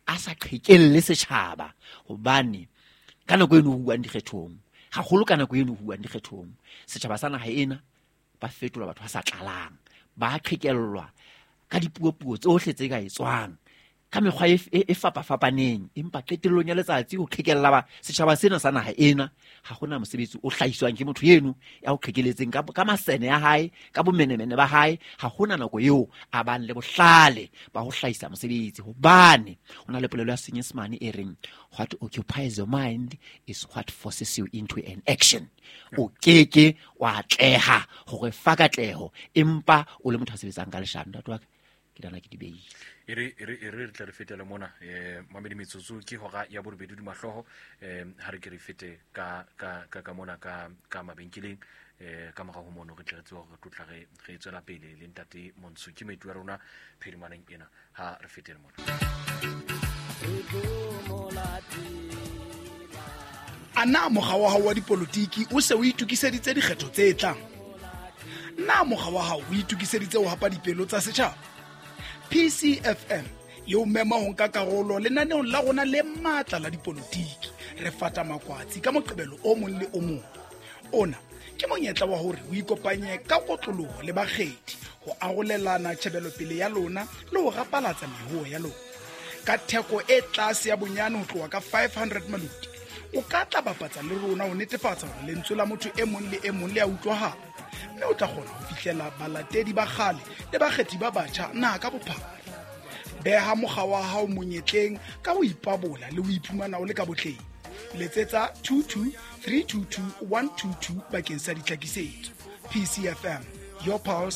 A sa qhekelle setjhaba, hobane ka nako eno ho buang dikgethong, haholo ka nako eno ho buang dikgethong, setjhaba sa naha ena ba fetola batho ba sa tlalang, ba qhekellwa ka dipuopuo tsohle tse ka etswang ka mekgwa e fapafapaneng. Empa qetellong ya letsatsi ho qhekella ba setjhaba sena sa naha ena, ha hona mosebetsi o hlahiswang ke motho eno ya o qhekeletseng ka masene ya hae, ka bomenemene ba hae. Ha hona nako eo a bang le bohlale ba ho hlahisa mosebetsi, hobane ho na le polelo ya Senyesemane e reng, "What occupies your mind is what forces you into an action." O keke wa atleha hore fa katleho empa o le motho a sebetsang ka leshano. Ntate wa ka, ke nahana ke di beile. E re re tle re fetele mona, mamedi. Metsotso ke hora ya borobedi dimahlooho. Ha re ke re fete ka mona ka mabenkeleng. Ka morao ho mono re tle re tsebe hore re tlo tla re tswela pele le ntate Montsho ke moeti wa rona phedimaneng ena. Ha re fetele mona. A na mokga wa hao wa dipolotiki o se o itokiseditse dikgetho tse tlang? Na mokga wa hao o itokiseditse ho hapa dipelo tsa setjhaba? PCFM e o mema ho nka karolo lenaneong la rona le matla la dipolotiki, Re Fata Makwatsi, ka Moqebelo o mong le o mong. Ona ke monyetla wa hore o ikopanye ka kotloloho le bakgethi ho arolelana tjhebelopele ya lona le ho rapalatsa mehoho ya lona. Ka theko e tlase ya bonyane ho tloha ka 500 maluti, o ka tla bapatsa le rona ho netefatsa hore lentswe la motho e mong le e mong le a utlwahala, mme o tla kgona ho fihlela balatedi ba kgale le bakgethi ba batjha naha ka bophara. Beha mokga wa hao monyetleng ka ho ipabola le ho iphumana o le ka botleng. Letsetsa 22 322 122 bakeng sa ditlhakisetso. PCFM, your pulse.